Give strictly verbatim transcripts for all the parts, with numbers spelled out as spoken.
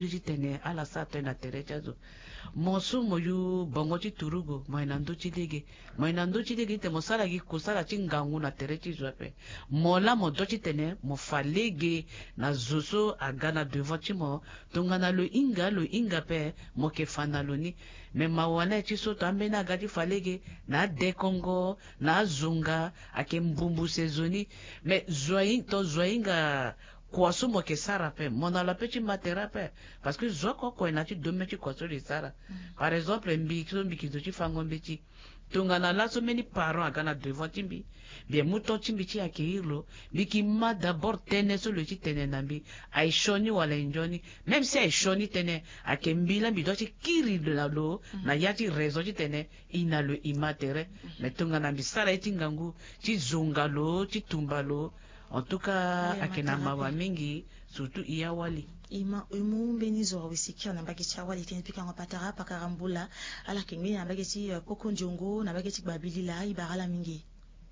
Ti tene ala sara tënë na tere ti azo. Mo so mo yu bongo ti turugu, mo ye na ndö ti lege. Mo ye na ndö ti lege ti tene mo sara gi kusala ti ngangu na tere ti zo ape. Mo laa mo dua ti tene mo fa lege na zo so aga na devant ti mo. Tongana lo hinga lo hinga ape, mo yeke fa na lo ni. Me mawa na ye ti so to ambeni aga ti fa lege na adekongo na azonga, ayeke mbumbuse zo ni. Me zo ahinga to zo ahinga kua so mo yeke sara ape, mo na lo ape ti ma tere ape. Parce que zo oko oko e na ya ti domaine ti kua so lo e sara. Par exemple mbi so mbi yeke zo ti fango mbeti, tongana laso mbeni parent aga na devant ti mbi, mbi mu temps ti mbi ti accueillir lo. Mbi yeke ma d'abord tënë so lo ye ti tene na mbi, aye sioni wala aye nzoni. Même si aye sioni tënë, ayeke mbi laa mbi dua ti kiri na lo na ya ti raison ti tene e na lo e ma tere. Mais tongana mbi sara ye ti ngangu ti zonga lo ti tumba lo, en tout cas ayeke na mawa mingi. Surtout e awali. E ma e mu mbeni zo awe sikiri na mbage ti awali tënë ti pikango patara pakara mbula. Ala yeke ngbeni na mbage ti poko ndiongo na mbage ti gbabilila. E bara ala mingi.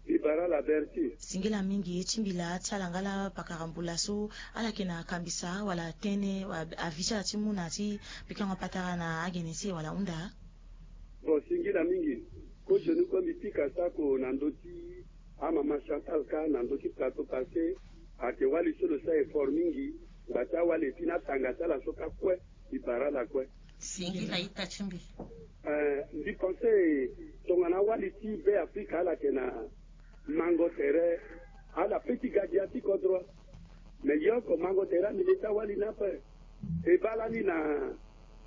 E bara ala berti. Singila mingi ti mbila ti ala nga la pakara mbula so ala yeke na kambisa wala tënë avis ti ala ti mu na ya ti pikango patara na agene ti e wala hunda. Bon, singila mingi. Ko sioni kue mbi pika sako na ndö ti amama Chantal kâ na ndö ti plateau passé. Ayeke wali so lo sara effort mingi. Ngba ti awali et puis na tanga ti ala so kâ kue. Mbi bara ala kue. Singila ita ti mbi. Eh, mbi pense tongana awali ti Be Afrika ala yeke na mango tere, ala pe ti ga gi ya ti kodro. Me ye oko mango tere ande le ti awali ni ape. E baa lani na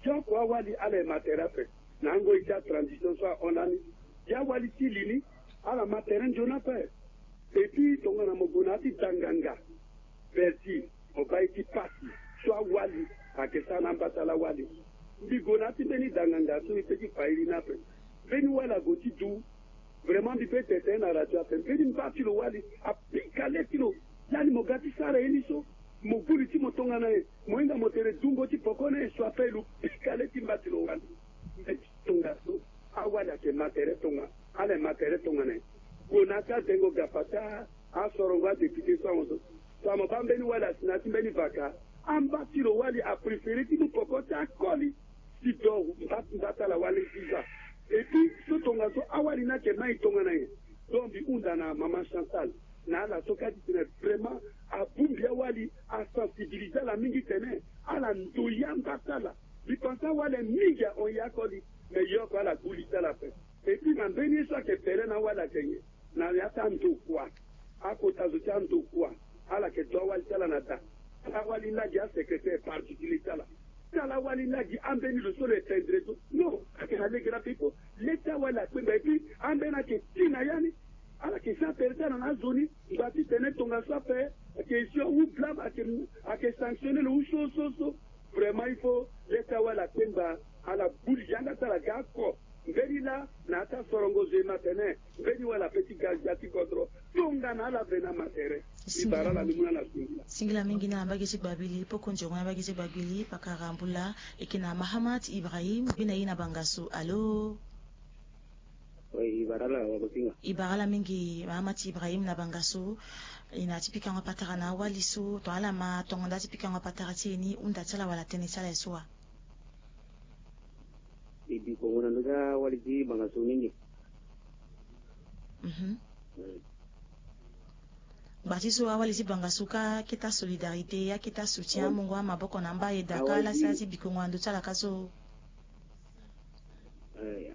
ti oko awali ala e ma tere ape. Na angoi ti atransition so ahon lani, gi awali ti li ni ala ma tere nzoni ape. Et puis tongana mo gue na ya ti danganga, Berti, mo baa ye ti pasi so awali ayeke sara na amba ti ala wali. Mbi gue na ya ti mbeni danganga so mbi pe ti fa iri ni ape. Mbeni wali ague ti du. Vraiment mbi pe tene tënë na radio ape, mbeni mba ti lo wali apika le ti lo. Lani mo ga ti sara ye ni so, mo gbu li ti mo tongana nyen? Mo hinga mo tere dungo ti poko na nyen? So ape lo pika le ti mba ti lo wali. Mbe ti tongaso, awali ayeke ma tere tongana, ala e ma tere tongana nyen? Gue na ya ti adengo gapa ti asorongo adepite so ahon so. So mo baa mbeni wali asi na ya ti mbeni vaka. Amba ti lo wali apréféré ti mu poko ti akoli. Ti do mba mba ti ala wali ti za. Et puis so tongaso awali ni ayeke ma e tongana nyen? Donc mbi hunda na mama Chantal na ala so kâ ti tene vraiment abongbi awali, asensibilisé ala mingi tene ala ndoye amba ti ala. Mbi pense awali mingi ahon ye akoli. Me ye oko ala gbu li ti ala ape. Et puis na mbeni ye so ayeke pele na awali ayeke nyen? Na ya ti andokua, akota zo ti andokua, ala yeke do awali ti ala na da. Awali laa gi asecrétaire particulier ti ala. Ti ala awali laa gi ambeni lo so lo ependre so. Non, ayeke na lege na pe il faut le ti awali akpengba. Et puis ambeni ayeke ti na ya ni. Ala yeke sara tere ti ala na azo ni. Ngba ti tene tongaso ape ayeke sion ou blâme, ayeke ayeke sanctionné lo ou so so so. Vraiment il faut le ti awali akpengba. Ala gbu li yanga ti ala ga oko. Mbeni laa na ya ti asorongo zo e ma tene mbeni wala pe ti ga gbia ti kodro. Tongana ala vena ma tere. Mbi bara ala ni mu na ala singila. Singila mingi na mbage ti gbabili poko nzongo na mbage ti gbabili pakara mbula. E yeke na Mahamat Ibrahim gbe na ye na bangasu. Alo. Oui, e bara ala wagosinga. E bara ala mingi Mahamat Ibrahim na bangasu. E na ya ti pikango patara na awali so to ala ma tongo nda ti pikango patara ti e ni hunda ti ala wala tënë ti ala ye so wa? E bi kongo na ndö ti awali ti bangasu mingi. Mhm. Ngba ti so awali ti bangasu kâ akete asolidarité, akete asoutien, amongo amaboko na amba e da kâ ala sara ti bi kongo na ndö ti ala kâ so.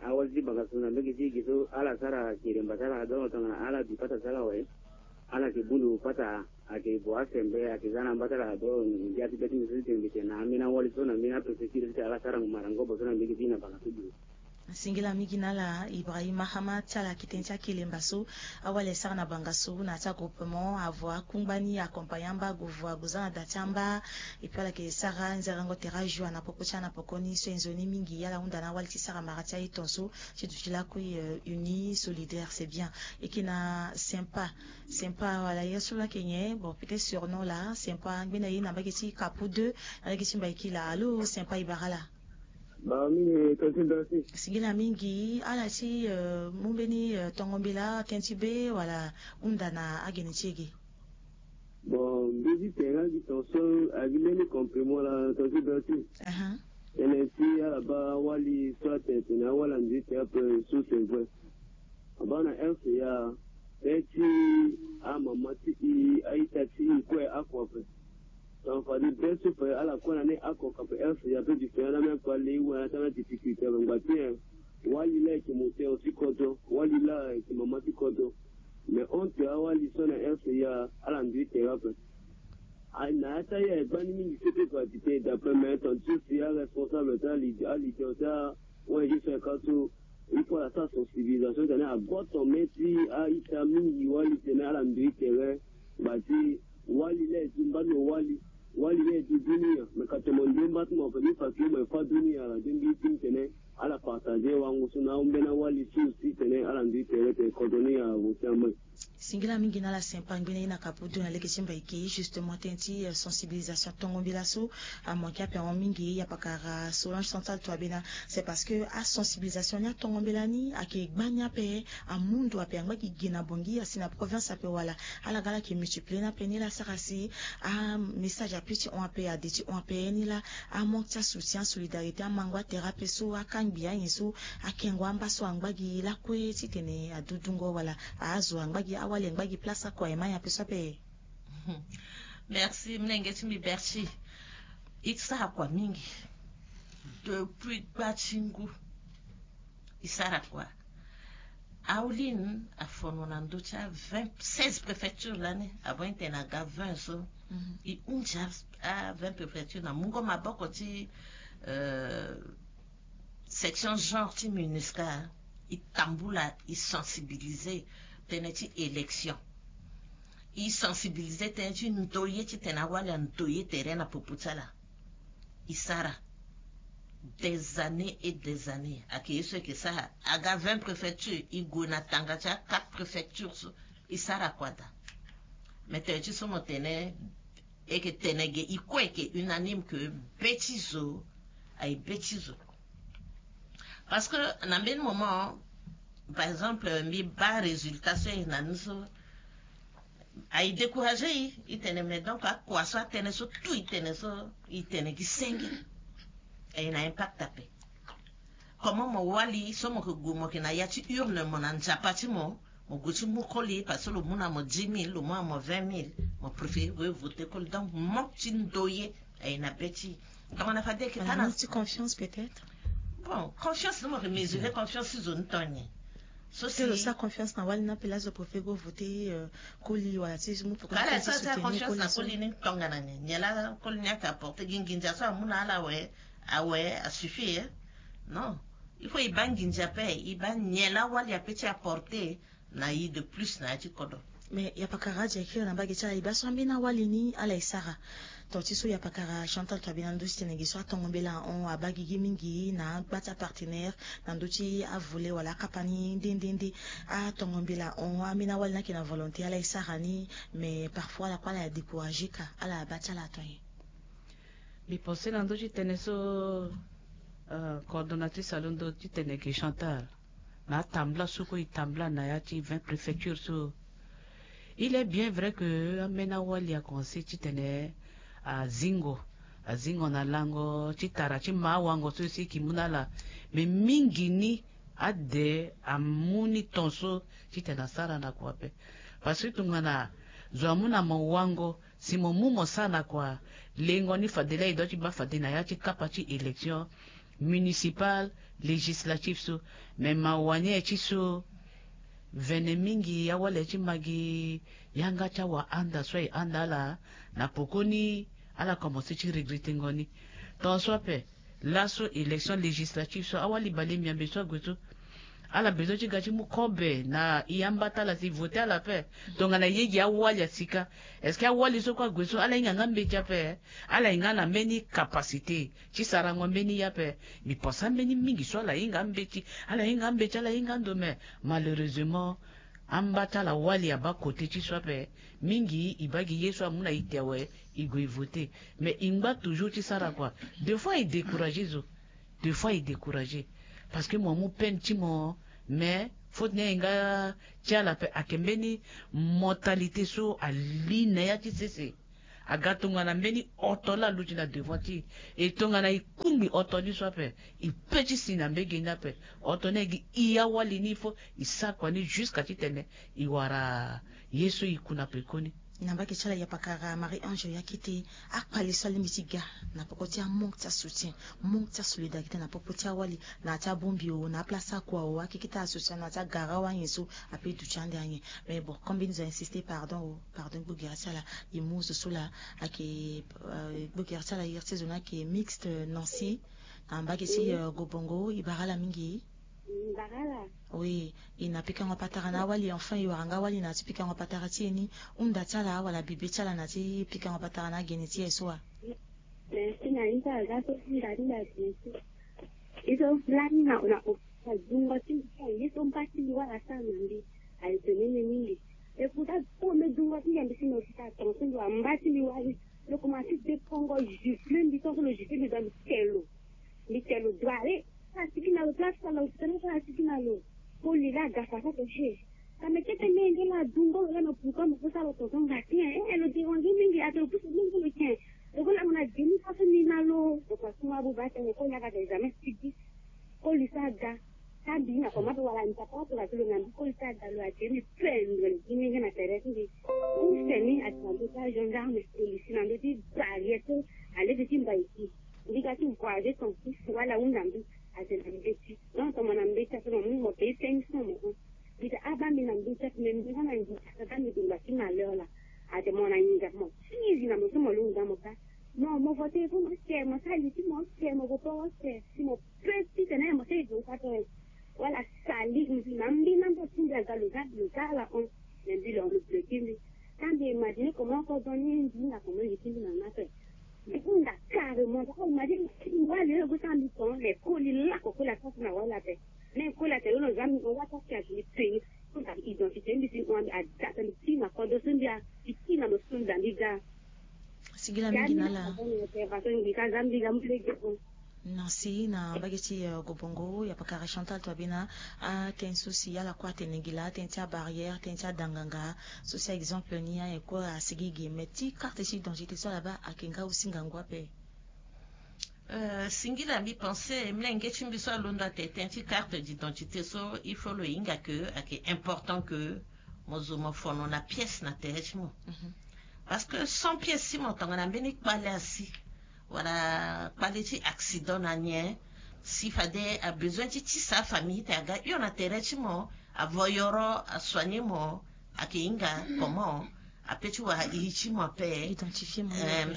Awali ti bangasu na mbege ti e ge so ala sara keremba ti ala donc tongana ala bi pata ti ala awe. Ala yeke bundu pata. Ayeke gue asembe ayeke za na amba ti ala do. Ndia ti be ti mbi so ti tene mbi tene na ambeni awali so na mbeni apréfecture so ti ala sara ngu marangobo so na mbege ti e na bangasu. Singila mingi na ala Ibrahim Mahama ti ala yeke tënë ti akelemba so. Awali asara na bangasu na ya ti agroupement avo akungba ni accompagne amba gue vo ague za na da ti amba. Et puis ala yeke sara nzerengo tere ajour na poko ti ala na poko ni so e nzoni mingi ala hunda na awali ti sara mara ti aye tongaso. Ti duti lakui uni solidaire c'est bien. E yeke na sympa. Sympa wala ye so laa ayeke nyen? Bon, peut-être surnom laa sympa ngbene ye na mbage ti kapu deux. Na lege ti mbaiki laa alo sympa e bara ala. Singila mingi ala ti mu mbeni tongo mbela tënë ti be wala hunda na agene ti e ge. Bon, mbi ti tene gi ton so agi mbeni comprimant la ton ti bê ti. Tënë ti ala baa awali so atene tene awali ando ti tere ape so c'est vrai. Abaa na R C A, be ti amama ti e, a-ita ti e kue ako ape. Donc fade be so pe ala kue na ni ako ka pe R C A pe du fin ala même pas lei wala ti ala difficulté ape ngba ti e. Wali laa ayeke moteur ti kodro, wali laa ayeke mama ti kodro. Mais honte awali so na R C A ala ndo ti tere ape. Aye na ya ti aye aye gbani mingi so ti gratité d'après mais ton ti so si aresponsable ti ali- aleader ti a-O N G so ayeke aso, il faut ala sara sensibilisation titene agoto me ti a-ita mingi wali titene ala ndo ti tere. Ngba ti wali laa e du mba ti mo wali, wali laa e du dunia. Me ka tene mo ndo mba ti mo ape ni fa ke mo e fa dunia ala de mbi ti titene ala partager wango so na ambeni awali so aussi titene ala ndo ti tere tene kodro ni ala voter amai. Singila mingi na ala sempa ngbene ye na kapu du na lege ti mbaiki justement tënë ti sensibilisation tongo mbela so. Amanke ape ahon mingi ya pakara Solange Chantal Touabéna. C'est parce que asensibilisation ni atongo mbela ni ayeke gbani ape. Amundu ape angba gi gi na bongi asi na province ape wala ala ga ala yeke multiplier ni ape ni laa asara si amessage ape ti hon ape ade ti hon ape ni laa. Amanque ti asoutien asolidarité amango atere ape so akangbi anyen so akengo amba so angba gi lakue titene adudungo wala azo angba gi awali angba gi place akua ema nyen ape so ape. Merci mlenge ti mbi Berti. E ti sara kua mingi. Depuis gba ti ngu e sara kua. Aulin afono na ndö ti a vingt seize préfecture lani avant e tene aga vingt so. E hunzi a vingt préfecture na mungo maboko ti section genre ti MINUSCA. E tambula e sensibiliser tënë ti élection. E sensibiliser tënë ti ndoye titene awali andoye tere na popo ti ala. E sara des années et des années ayeke ye so e yeke sara aga vingt préfecture e gue na tanga ti a quatre préfecture so. E sara kua daa. Me tene ti so mo tene e yeke tene ge e kue e yeke unanime ke be ti zo aye be ti zo. Parce que na mbeni moment par exemple mbi baa résultat so e na ni so aye décourager e e tene mais donc akua so atënë so tout e tene so e tene gi senge. Aye na impact ape. Comment mo wali so mo yeke gue mo yeke na ya ti urne mo na nzapa ti mo mo gue ti mu koli parce que lo mu na mo dix mille lo mu na mo vingt mille. Mo préférer gue voter koli donc manque ti ndoye aye na be ti e. Tongana fade ayeke tana ti confiance peut-être. Bon confiance ni mo yeke mesurer confiance ti zo ni ton nyen? So si lo sara confiance na wali ni ape laa zo préférer go voter koli wala ti zo mu pourquoi ti soutenir confiance na koli ni tongana nyen? Nyen laa koli ni ayeke apporter gi nginza so amu na ala awe awe asuffit e. Non. Il faut e baa nginza ape e baa nyen laa wali ape ti apporter na e de plus na ya ti kodro. Mais ya pakara adia e kiri na mbage ti ala e baa so ambeni awali ni ala e sara. Ton ti so ya pakara Chantal Touabéna ndö ti tene ge so atongo mbela ahon abaa gigi mingi na agba ti apartenaire na ndö ti avolet wala akapa ni nde nde nde. Atongo mbela ahon ambeni awali ni ayeke na volonté ala e sara ni. Mais parfois ala kue ala décourager ka ala abaa ti ala ton nyen? Mbi pense na ndö ti tene so coordonnatrice alondo ti tene ge Chantal na atambula so kue e tambula na ya ti vingt préfecture so. Il est bien vrai que ambeni awali akomense titene azingo azingo na lango ti tara ti ma awango so si e yeke mu na ala. Mais mingi ni ade amu ni ton so titene asara na kua ape. Parce que tongana zo amu na mo wango si mo mu mo sara na kua lengo ni fade laa e doit ti baa fade na ya ti kapa ti élection municipale, législative so. Mais mawa ni aye ti so vene mingi awali aye ti ma gi yanga ti awahanda so aye handa ala na pokoni ala komanse ti regrettengo ni. Ton so ape laso élection législative so awali bale miambe so ague so ala besoin ti ga ti mu kobe na e ambata ala si voter ala ape. Tongana e ye gi awali asika est ce que awali so kue ague so ala hinga nga mbeti ape? Ala hinga na mbeni capacité ti sarango mbeni ye ape. Mbi pense ambeni mingi so ala hinga ambeti ala hinga ambeti ala hinga ando mais malheureusement amba ti ala wali abaa kote ti so ape. Mingi e baa gi ye so amu na ite awe e gue e voter. Mais e ngba toujours ti sara kua. Des fois e décourager zo. Des fois e décourager parce que mo amu peine ti mo mais Faute ni aye nga ti ala ape ayeke mbeni mentalité so ali na ya ti sese. Aga tongana mbeni oto laa aluti na devant ti e, e tongana e kungbi oto ni so ape, e pe ti si na mbege ni ape. Oto ni aye gi e awali ni, il faut e sara kua ni jusqu'à titene e wara ye so e ku na pekoni. Na mbage ti ala, e pakara Marie Ange Yakete, akpale so alingbi ti ga na popo ti amanque ti asoutien, manque ti asolidarité na popo ti awali, na ya ti abongbi o, na aplace akua o, akeke ti association, na ya ti agara o, anyen so ape duti ande anyen. Mais bon, comme mbeni zo a insister, pardon o, pardon, gbogere ti ala, e mu zo so laa. Ayeke gbogere ti ala, iri ti zo ni ayeke Mixte Nancy, na mbage ti Gobongo. E bara ala mingi. Oui, e na pikango patara na awali, enfin e wara nga awali na ya ti pikango patara ti e ni. Hunda ti ala wala bibe ti ala na ya ti pikango patara na agene ti e so wa? Merci na ye ti ala so hunda ti mbi agene ti e so. Lani na na dungo ti mbi so, ye so mba ti mbi wala asara na mbi, aye tene ni mingi. E kuta so mbi dungo ti mbi, mbi si na hôpital, tension mbi wala mba ti mbi wali. Lo commencé depongo, gifle mbi, tant que lo gifle mbi, donc mbi te lo. Mbi te lo, doit aller. Asigi na lo, place ala hôpital, asigi na lo. Koli laa aga fa so ape, he. Ka mbi kete menge laa adungo lo laa, mais pourquoi mo peut sara lo tonton ngba ti en? Eh, lo déranger mingi, ate lo pousse mingi lo tien. Lo go laa mo na demi faso ni na lo. Lo kua suma abuba tene koli aga tene jamais sigi. Koli so aga. Ka mbi na koma ape wala mbi papa ape wala ti lo na mbi, koli so aga lo ate mbi pendre gi menge na tere ti mbi. Pousse ni ate na ndö ti agendarme, policier na ndö ti barrière so alege ti mbaiki. Mbi ga ti voyager ton fils wala ahunda mbi. Ate na mbeti. Donc tongana mbeti ape mo mu mo paye cinq cents mo hon. Mbi ta abaa mbi na mbeti ape, mais mbi nga na nginza ka ga mbi dongba ti malheur laa. Ate mo na nginza mo tizi na mo so mo lungda mo baa. Mo mo vote fo mo sere, mo sara li ti mo sere, mo gue poro sere si mo pe titene mo sere zo ka tene. Wala sali mbi na mbi na mbo ti mbi aga lo za lo za ala hon. Mais mbi lo hon lo bloquer mbi. Ka mbi imaginer comment oko donner mbi na comment li ti mbi na na ape. Mbi hunda carrément, ka imaginer mbi wali lo gue sara mbi ton, mais koli lako koli asara so na wali ape. Mais koli ate lo lo za mbi hon, wata si ate mbi peni. Identité mbi si hon, mbi ada ape mbi ti na kodro so mbi a, mbi ti na mo so mbi da mbi ga. Sigi la mingi na ala. Nancy na mbage ti Gobongo, ya pakara Chantal Twabena, atënë so si ala kue atene gi laa, atënë ti abarrière, atënë ti adanganga so si exemple ni aye kue asigi gi, mais ti carte ti identité so ala baa ayeke nga aussi ngangu ape. Euh, singila mbi pensé, mlenge ti mbi so alondo ate tënë ti carte d'identité so, il faut lo hinga que ayeke important que mo zo mo fono na pièce na tere ti mo. Parce que sans pièce ti mo tongana mbeni kpale asi wala kpale ti accident na nyen, si fade abesoin ti tisa afamille ti tene aga hio na tere ti mo, avo yoro, asoigner mo, ayeke hinga comment ape ti wara iri ti mo ape,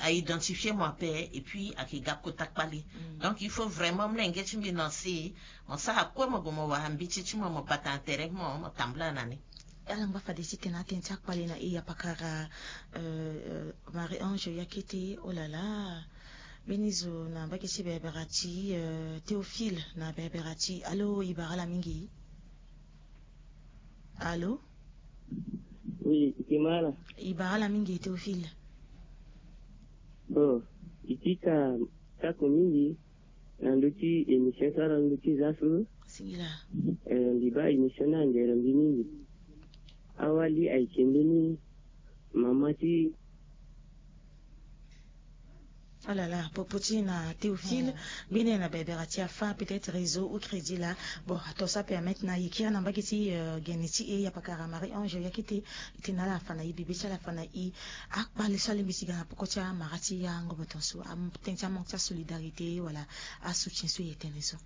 identifier mo ape, et puis ayeke ga kota kpale. Donc il faut vraiment mlenge ti mbi na si mo sara kue mo gue mo wara mbeti ti mo, mo bata na tere ti mo, mo tambula na ni. Ala ngba fade ti tene atënë ti akpale na e, ya pakara Marie Ange Yakete. Olala, mbeni zo na mbage ti berbera ti Théophile na berbera ti. Alo, e bara ala mingi. Alo. Oui, e ke ma ala. E bara ala mingi Théophile. Bon, e ke ka tako mingi na ndö ti émission so ala ndö ti za so. Singila. Eh, mbi baa émission ni angere mbi mingi. Awali ayeke mbeni mama ti. Alala, popo ti na Théophile, mbeni na bebera ti afa, peut-être réseau ou crédit la. Bon, ato so apermettre na ye kiri na mbage ti gene ti e, ya pakara Marie Ange Yakete, e tene na ala afa na e, bibe ti ala afa na e. Akpale so alingbi ti ga na poko ti amara ti angobo ton so, atënë ti amanque ti asolidarité wala asoutien so e tene so.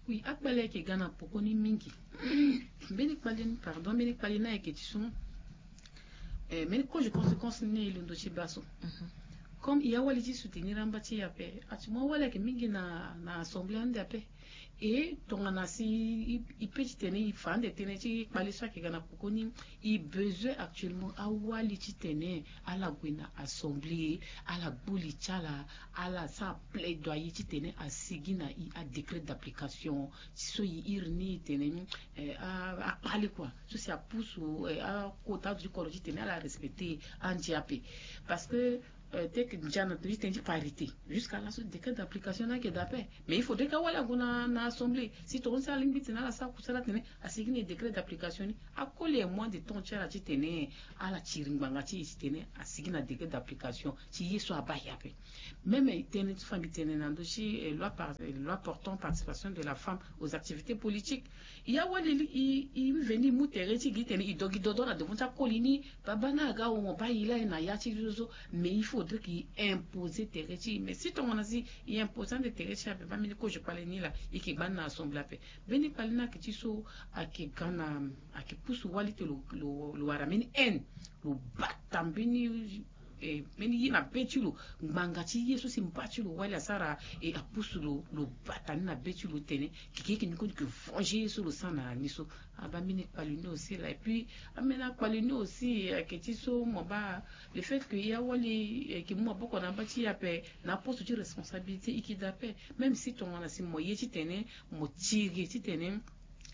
Oui, akpale ayeke ga na poko ni mingi. Mbeni kpale ni, pardon, mbeni kpale ni ayeke ti so. Eh, mbeni kozo conséquence ni e londo ti baa so. Comme e awali ti soutenir amba ti e ape, actuellement awali ayeke mingi na, na assemblée ande ape. E tongana si e, e pe ti tene e fa ande tënë ti kpale so ayeke ga na pokoni, e besoin actuellement awali ti tene ala gue na assemblée, ala gbu li ti ala, ala sara plaidoyer ti tene asigi na e adécret d'application ti so e iri ni e tene, eh, a, akpale kua. So si apusu, eh, akota azo ti kodro ti tene ala respecter andia ape. Parce que Te yeke ndia na ndo ti tënë ti parité, jusqu'à laso décret d'application ni ayeke daa ape. Mais il faudrait que awali ague na assemblée si tonga ni si alingbi ti tene ala sara kusala atene asigi na décret d'application ni. Akoli e moins de temps ti ala ti tene ala tiri ngbanga ti e ti tene asigi na décret d'application ti ye so abaa ape. Même tënë ti fa mbi tene na ndo ti loi portant participation de la femme aux activités politiques, ya wali i veni i mu tere ti gi tene i dogi dodo na devant ti akoli ni. Baba ni aga wo mo baa i laa na ya ti zo so. Mais il faudrait que i imposer tere ti i mais si tongana si i imposer ande tere ti i ape baa mbeni kozo kpale ni laa i ke gba ni na assemblée ape. Mbeni kpale ni ayeke ti so ayeke ga na ayeke pusu wali ti lo lo wara mbeni haine, lo bata mbeni mbeni ye na be ti lo. Ngbanga ti ye so si mba ti lo wali asara e apusu lo lo bata ni na be ti lo tene keke yeke ni koni ke venger ye so lo sara na ni so. Abaa mbeni kpale ni aussi laa et puis ambeni akpale ni aussi ayeke ti so mo baa le fait que ya wali ayeke mu maboko na amba ti e ape na aposte ti responsabilité i ke daa ape. Même si tongana si mo ye titene mo tiri titene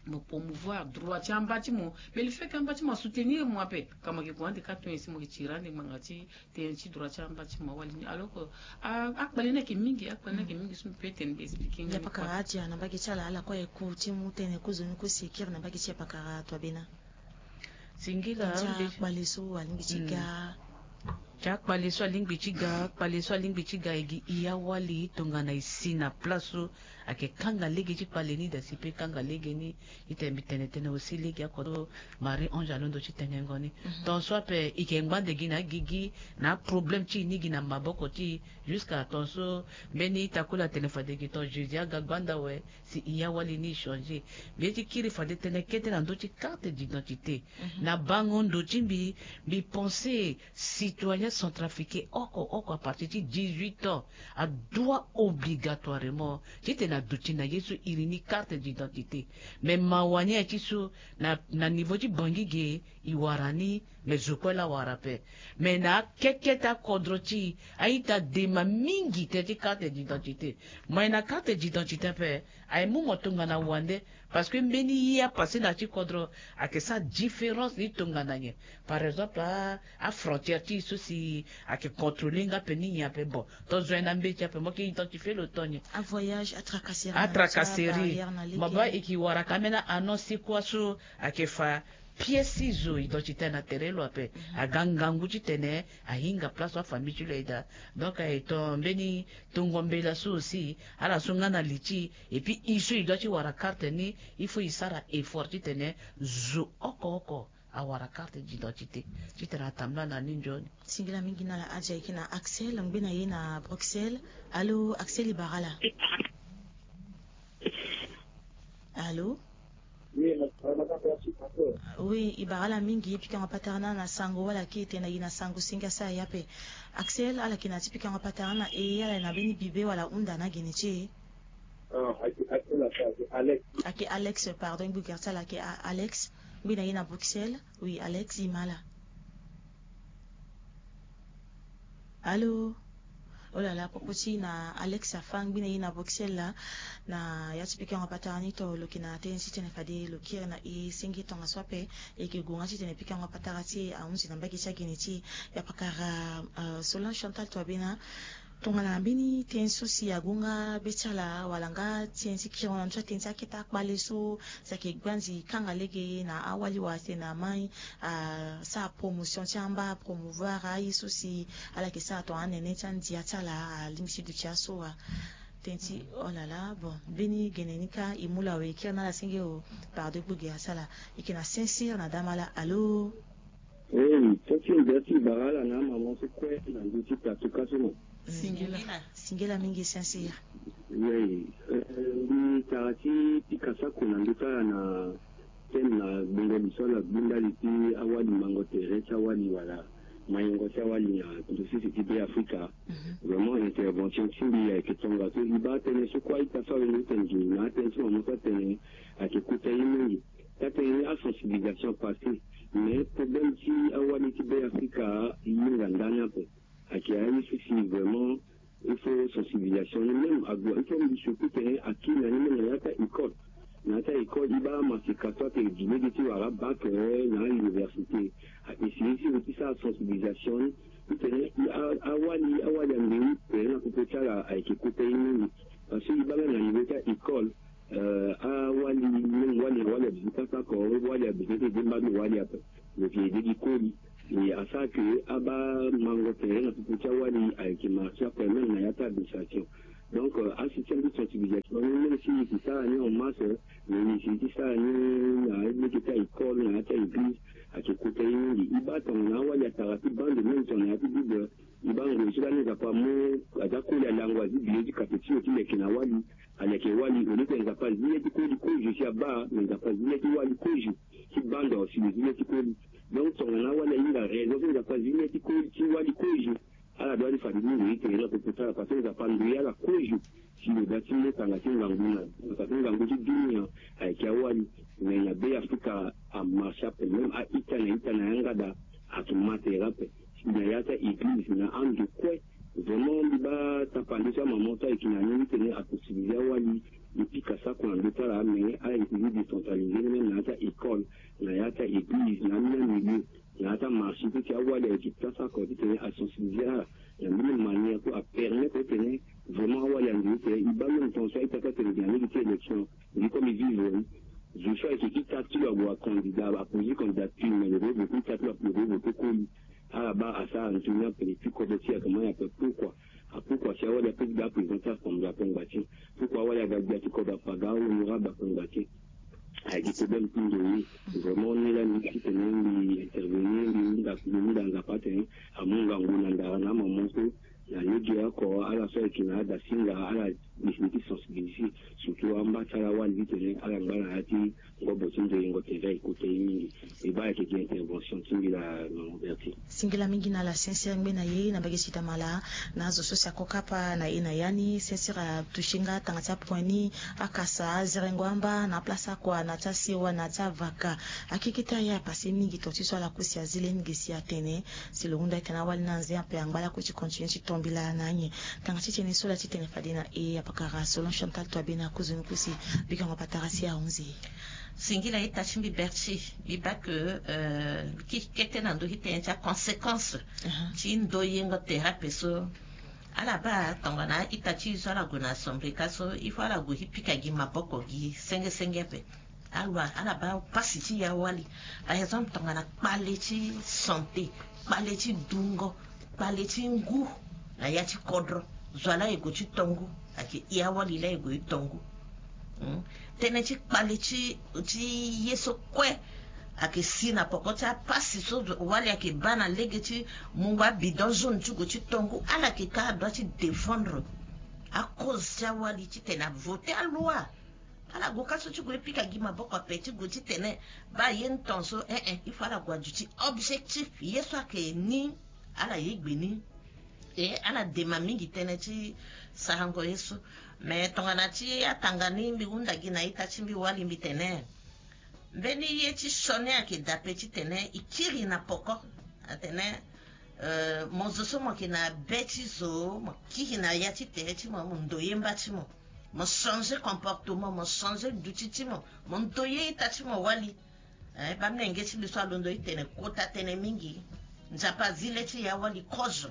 mo promouvoir droit ti amba ti mo. Mais le fait que amba ti mo asoutenir mo ape ka mo yeke gue ande ka tongana si mo yeke tiri ande ngbanga ti tënë ti droit ti amba ti mo awali ni alors que akpale ni ayeke mingi akpale ni ayeke mingi so mbi pe tene mbi expliquer nga. Pakara adia na mbage ti ala ala kue aye ku ti mu tënë kozoni kosi kiri na mbage ti apakara toabena. Singila ti akpale so alingbi ti ga. Ti akpale so alingbi ti ga akpale so alingbi ti ga e gi i awali tongana e si na place so ayeke kanga lege ti kpale ni daa si pe kanga lege ni. Titene mbi tene tënë aussi lege akodro Marie Ange alondo ti tengengo ni. Tongaso ape e yeke ngba ande gi na agigi na aproblème ti e ni gi na maboko ti e. Jusqu'à tongaso mbeni ita kula tene fade gi tonga Jésus aga gbanda awe. Si i awali ni e changer mbi ye ti kiri fade tënë kete na ndö ti carte d'identité. Na bango ndo ti mbi mbi pense citoyen centrafricain oko oko à partir ti dix-huit ans adoit obligatoirement titene aduti na ye so iri ni carte d'identité. Mais mawa ni aye ti so na niveau ti bangi ge e wara ni. Mais zo kue laa awara ape. Mais na akeke ti akodro ti e a-ita dema mingi tënë ti carte d'identité. Mo aye na carte d'identité ape aye mu mo tongana wande. Parce que mbeni ye apasse na ya ti kodro ayeke sara différence ni tongana nyen? Par exemple afrontière ti e so si ayeke contrôler nga ape ni nyen ape bon? To zo aye na mbeti ape mo yeke identifier lo to nyen? Avoyage atracasserie atracasserie. Mo baa e yeke wara ka ambeni a-annonce ti kuâ so ayeke fa pièce ti zo identité na tere lo ape. Aga ngangu titene ahinga place so afamille ti lo aye daa. Donc aye ton mbeni tongo mbela so aussi ala so nga na li ti e et puis e so e doit ti wara carte ni il faut e sara effort titene zo oko oko awara carte d'identité. Titene atambula na ni nzoni. Singila mingi na ala adia e yeke na Axel ngbe na ye na Bruxelles. Allo Axel e bara ala? Allo? Oui e bara ala mingi pikango patara na ala na sango wala ke e tene na ye na sango senge asara ye ape. Axel ala yeke na ya ti pikango patara na ala e ala yeke na mbeni bibe wala hunda na gene ti e? Ayeke alex pardon e gbu gere ti ala ayeke alex. Ngbi na ye na Bruxelles. Oui alex e ma ala? Allo. Olala poko ti na alex afa ngbi na ye na Bruxelles laa. Na ya ti pikango patara ni to lo yeke na tënë ti tene fade lo kiri na e senge tongaso ape. E yeke gue nga titene pikango patara ti e ahunzi na mbage ti agene ti e. Ya pakara solan chantal to abena. Tongana mbeni tënë so si ague nga be ti ala wala nga tënë ti kiri na ndö ti atënë ti akete akpale so si ayeke gbanzi kanga lege na awali wala tene na mai asara promotion ti amba apromouvoir aye so si ala yeke sara tongana anene ti andia ti ala alingbi ti duti aso wa. Tënë ti olala bon mbeni gene ni kâ e mu lo awe e kiri na ala senge o. Pardon e kpo ge asara e yeke na sinsir na dama ala allo? Ei tënë ti ndia ti bara ala na amama so kue na ndö ti plateau ka so no. Singila. Singila mingi sinsir. Ei mbi tara ti pika sako na ndö ti ala na tënë na gbongo li so ala gbu ndali ti awali mango tere ti awali wala mayengo ti awali na ndosese ti be afrika. Vraiment intervention ti mbi ayeke tongaso e baa tënë so kue a-ita so awende ti tene gi na atënë ti mama so atene ayeke kota ye mingi. Ti atene ni asensibilisation apasse. Mais problème ti awali ti be afrika e hinga ndani ape. Ayeke aye so si vraiment il faut sensibilisation ni même ague il faut mbi surtout tene akiri na ni même na ya ti a-école. Na ya ti a-école e baa amaseka so ayeke gi lege ti wara bac na a-université a-essayer ti lo ti sara sensibilisation ni. Titene awali awali ande tere na popo ti ala ayeke kota ye mingi. Parce que e baa même na niveau ti a-école, awali même wali na wali abimi kaka oko, wali abimi ti ede mbando wali ape. Donc e ede gi koli. E asara ke abaa mango tere na popo ti awali ayeke marché ape même na ya ti administration. Donc asystème ti sensibilisation ni même si e ke sara ni en masse, mais e si ti sara ni na lege ti a-école na ya ti a-église. Ayeke kota ye mingi. E baa tongana awali atara ti bando même tongana ya ti bible. E baa ngoi so lani Nzapa amu aza koli alango azi bilo ti kape ti lo ti leke na wali. Aleke wali au lieu que Nzapa azi le ti koli kozo si abaa, mais Nzapa azi le ti wali kozo ti bando si lo zi le ti koli. Donc tongana awali ahinga raison so Nzapa azi le ti koli ti wali kozo, ala doit ti fa ndingo ye tere na popo ti ala parce que Nzapa andoye ala kozo. Si lo da ti mu tanga ti ngangu na tanga ti ngangu ti dunia ayeke awali. Mais na be Afrika amarché ape, même a-ita na ita na yanga daa ayeke ma tere ape. Si na ya ti a-église na ando kue. Vraiment mbi baa tapande so amaman so ayeke na ni ni tene asensibiliser awali. E pika sako na ndö ti ala mais ala yeke zi décentraliser ni même na ya ti a-école, na ya ti a-église na ambeni amilieu, na ya ti amarché ti ti awali ayeke ti asara kua titene asensibiliser ala na mbeni manière so apermettre titene vraiment awali ande titene e baa même temps so a-ita so atene gi na lege ti élection. Mbi comme e vivre ni zo so ayeke ita ti lo ague acandidat aposer candidature mais lo ke vote ita ti lo ape lo ke vote koli. Ala baa asara ndo ni ape ti kodro ti e ayeke ma ni ape. Pourquoi? Pourquoi si awali ape ti ga aprésident ti assemblée ape ngba ti e? Pourquoi awali aga gbia ti kodro ape aga ahonorable ape ngba ti e? Ayeke problème ti ndo ye. Vraiment ni lani titene mbi intervenir mbi hunda mbi hunda Nzapa atene amu ngangu na ndara na amaman so na lege oko ala so ayeke na adasinga ala décider ti sensibiliser surtout amba ti ala wali titene ala ngba na ya ti ngobo ti ndoyengo tere ayeke kota ye mingi. E baa ayeke gi intervention ti mbi laa maman Berthe. Singila mingi na ala sinsir ngbene na ye na mbage ti damala. Na azo so si akokapa na e na ya ni sinsir atoucher nga tanga ti apoint ni. Akasa azerengo amba na aplace akua na ti asiwa na ti avaka. Akeke ti aye apase mingi tonga ti so ala ku si azi le ni ge si atene si lo hunda etene awali ni anze ape angba lakue ti continuer ti tombila na anyen. Tanga ti tene so laa ti tene fade na e apakara selon Chantal Toibe na akozoni ku si bikango patara si ahunzi. Singila ita ti mbi Berthe. Mbi baa ke mbi keke kete na ndö ti tene ti aconséquence ti ndoyengo tere ape so. Ala baa tongana ita ti e so ala gue na assemblée ka so il faut ala gue ti pika gi maboko gi senge senge ape. Ala baa pasi ti e awali. Par exemple tongana kpale ti santé, kpale ti dungo, kpale ti ngu na ya ti kodro. Zo wa laa e gue ti to ngu ayeke e awali laa e gue ti to ngu. Tënë ti kpale ti ye so kue ayeke si na poko ti apasi so wali ayeke baa na lege ti mungo abidon jaune ti gue ti to ngu. Ala yeke ka adua ti défendre akoze ti awali titene avote aloi. Ala gue ka so ti gue ti pika gi maboko ape ti gue titene baa ye ni tonso eh eh il faut ala gue aduti objectif ye so ayeke ni. Ala ye gbe ni. E ala dema mingi tënë ti sarango ye so. Me tongana ti atanga ni mbi hunda gi na ita ti mbi wali mbi tene mbeni ye ti sioni ayeke daa pe titene e kiri na poko. Atene mo zo so mo yeke na be ti zo mo kiri na ya ti tere ti mo mo ndoye mba ti mo. Mo changer comportement mo changer duti ti mo mo ndoye ita ti mo wali. Bamilenge ti mbi so alondo ti tene kota tënë mingi. Nzapa azi le ti e awali kozo.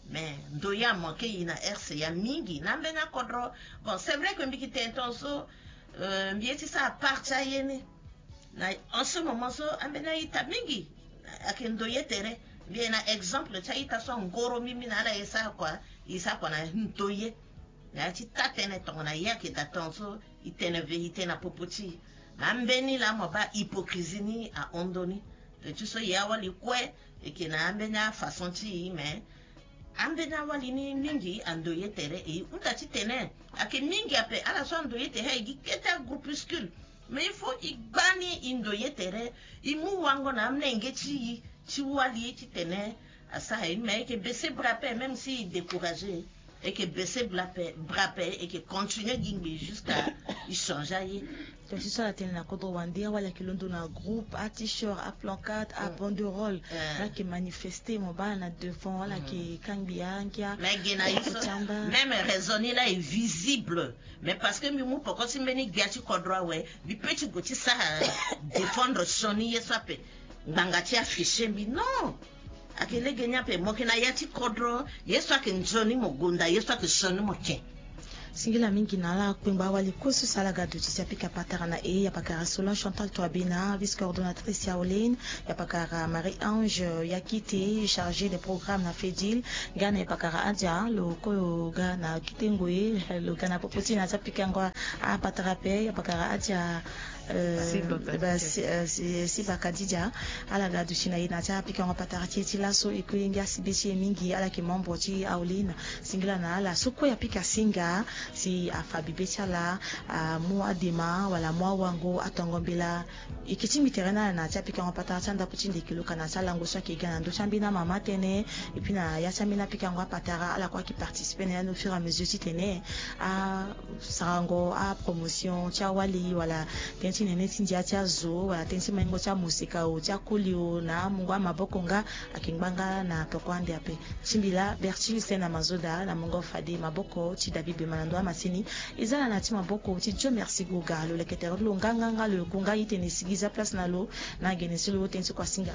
Mais ndoye amanke e na rca mingi na ambeni akodro. Bon c'est vrai que mbi yeke tene tongaso mbi ye ti sara part ti aye ni. Na en ce moment so ambeni a-ita mingi ayeke ndoye tere. Mbi ye na exemple ti a-ita so angoro mbi mbi na ala e sara kua. E sara kua na ndoye. Na ya ti taa tënë tongana ye ayeke daa tongaso e tene vérité na popo ti e. Na ambeni laa mo baa hypocrisie ni ahon ndoni. Pe ti so ye awali kue e yeke na ambeni afaçon ti e mais ambeni awali ni mingi ando ye tere e hunda titene ayeke mingi ape ala so ando ye tere aye gi kete agroupuscule. Mais il faut e gba ni e ndo ye tere e mu wango na amolenge ti e ti wali titene asara e mais e yeke baisser bras ape même si e décourager e yeke baisser bras ape e yeke continuer gi ngbii jusqu'à e changer aye. Donc ti so ala tene na kodro wande awali ayeke londo na groupe a-t-shirt a-plancarte a-banderole. Ala yeke manifester mo baa na devant ala yeke kangbi angia. Mais ge na ye so même raison ni laa e visible. Mais parce que mbi mu poko ti mbeni gbia ti kodro awe mbi pe ti gue ti sara défendre sioni ye so ape. Ngbanga ti afficher mbi non. Ayeke lege ni ape mo yeke na ya ti kodro. Ye so ayeke nzoni mo gonda ye so ayeke sioni mo tien. Singila mingi na ala kpengba awali kosu so ala ga duti ti apika patara na e. Ya pakara Solon Chantal Toabina, vice coordonnatrice ya Olin. Ya pakara Marie Ange Yakite, chargée des programmes na Fedil. Nga na ya pakara Adia lo ko lo ga na kite ngoi lo ga na popo ti na ti apikango apatara ape. Ya pakara Adia si baka didia ala ga duti na ye na ti apikango apatara ti e ti laso e kue ngia si be ti e mingi ala yeke membre ti aolin. Singila na ala so kue apika singa si afa bibe ti ala amu adema wala amu awango atongo mbela. E ke tingbi tere na ala na ya ti apikango apatara ti andapu ti ndeke lo ka na ya ti alango so ayeke ga na ndö ti ambeni amama tënë. Epui na ya ti ambeni apikango apatara ala kue ayeke participer na ya ni au fur et à mesure titene asarango apromotion ti awali wala tënë ti nene ti ndia ti azo wala tënë ti maingo ti amosekao ti akoli o na amungo amaboko nga ayeke ngba nga na toko ande ape. Tingbi laa Bertil Sena Mazoda na mungo fade maboko ti David Bemana ndo amasini. E za na na ya ti maboko ti Dieu merci goga lo leke tere ti lo nganganga lo yoko nga itene sigi za place na lo na agene ti lo tënë ti kua singa.